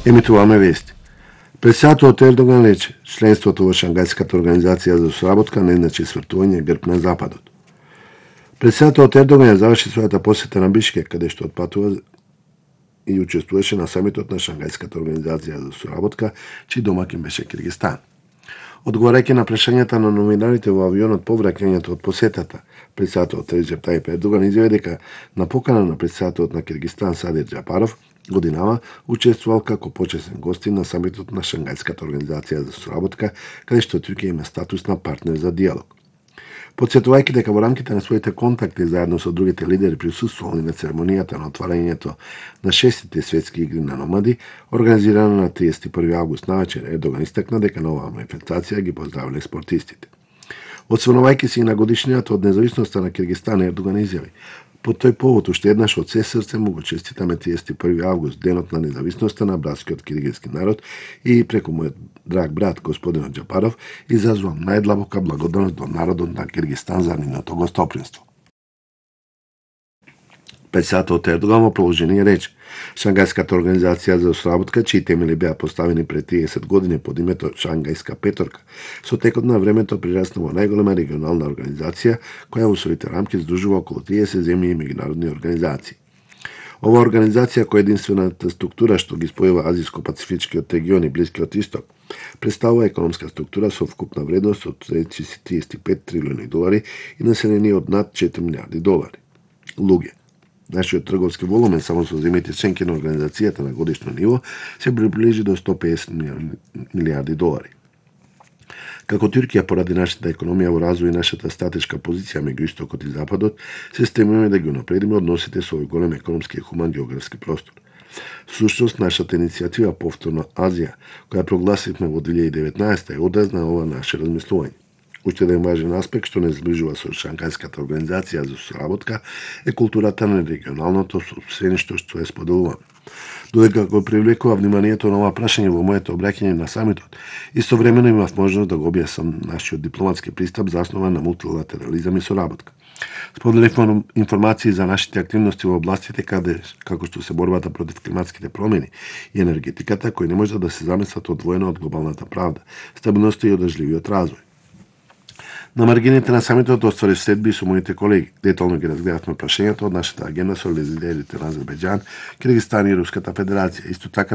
Емитуваме вести. Председателот Ердоган рече, членството во Шангајската организација за соработка не значи свртување грб на Западот. Председателот Ердоган ја заврши својата посета на Бишкек, каде што отпатува и учествуваше на самитот на Шангајската организација за соработка, чиј домакин беше Киргизстан. Одговарајќи на прашањата на новинарите во авионот по враќањето од посетата, председателот Реджеп Тајип Ердоган изјави дека на покана на председателот на Киргизстан Садир Џапаров годинава учествувал како почесен гостин на самитот на Шангајската организација за соработка, каде што Туркија има статус на партнер за диалог. Подсетувајќи дека во рамките на своите контакти заедно со другите лидери присуствували на церемонијата на отварањето на 6-тите светски игри на номади, организирана на 31 август навечер, Ердоган истакна дека на оваа манифестација ги поздравиле спортистите. Осврнувајќи се и на годишнината од независноста на Киргизстан, Ердоган изјави: по тој повод уште еднаш од се срце му го честитаме 31 август, денот на независноста на братскиот киргизски народ, и преку мојот драг брат господинот Џапаров изразувам најдлабока благодарност до народот на Киргизстан за нивното гостопримство. Председателот Ердоган во продолжение рече: Шангајската организација за соработка, чии темели беа поставени пред 30 години под името Шангајска петорка, со текот на времето прирасна во најголема регионална организација која во своите рамки здружува околу 30 земји и меѓународни организации. Ова организација, која е единствената структура што ги спојува Азиско-Пацифичкиот регион и Блискиот Исток, представува економска структура со вкупна вредност од 35 трилиони долари и население од над 4 милиарди долари. Луѓе. Нашиот трговски волумен само со земјите членки на организацијата на годишно ниво се приближи до 150 милиарди долари. Како Туркија, поради нашата економија во развој и нашата стратешка позиција меѓу Истокот и Западот, се стремиме да ги унапредиме односите со овој голем економски и хуман географски простор. Всушност, нашата иницијатива Повторно Азија, која прогласивме во 2019, е одраз на ова наше размислување. Уште еден важен аспект што не зближува со Шангајската организација за соработка е културата на регионалното собствеништво што е споделувано. Додека го привлекува вниманието на ова прашање во моето обраќање на самитот, истовремено имав можност да го објаснам нашиот дипломатски пристап заснован на мултилатерализам и соработка. Споделив информации за нашите активности во областите како што се борбата против климатските промени и енергетиката, кои не можат да се замислат одвоено од глобалната правда, стабилноста и одржливиот развој. На маргините на самитот остварив следби со моите колеги. Детално ги разгледавме прашањата од нашата агенда со лидерите на Азербејџан, Киргизстан и Руската Федерација. Исто така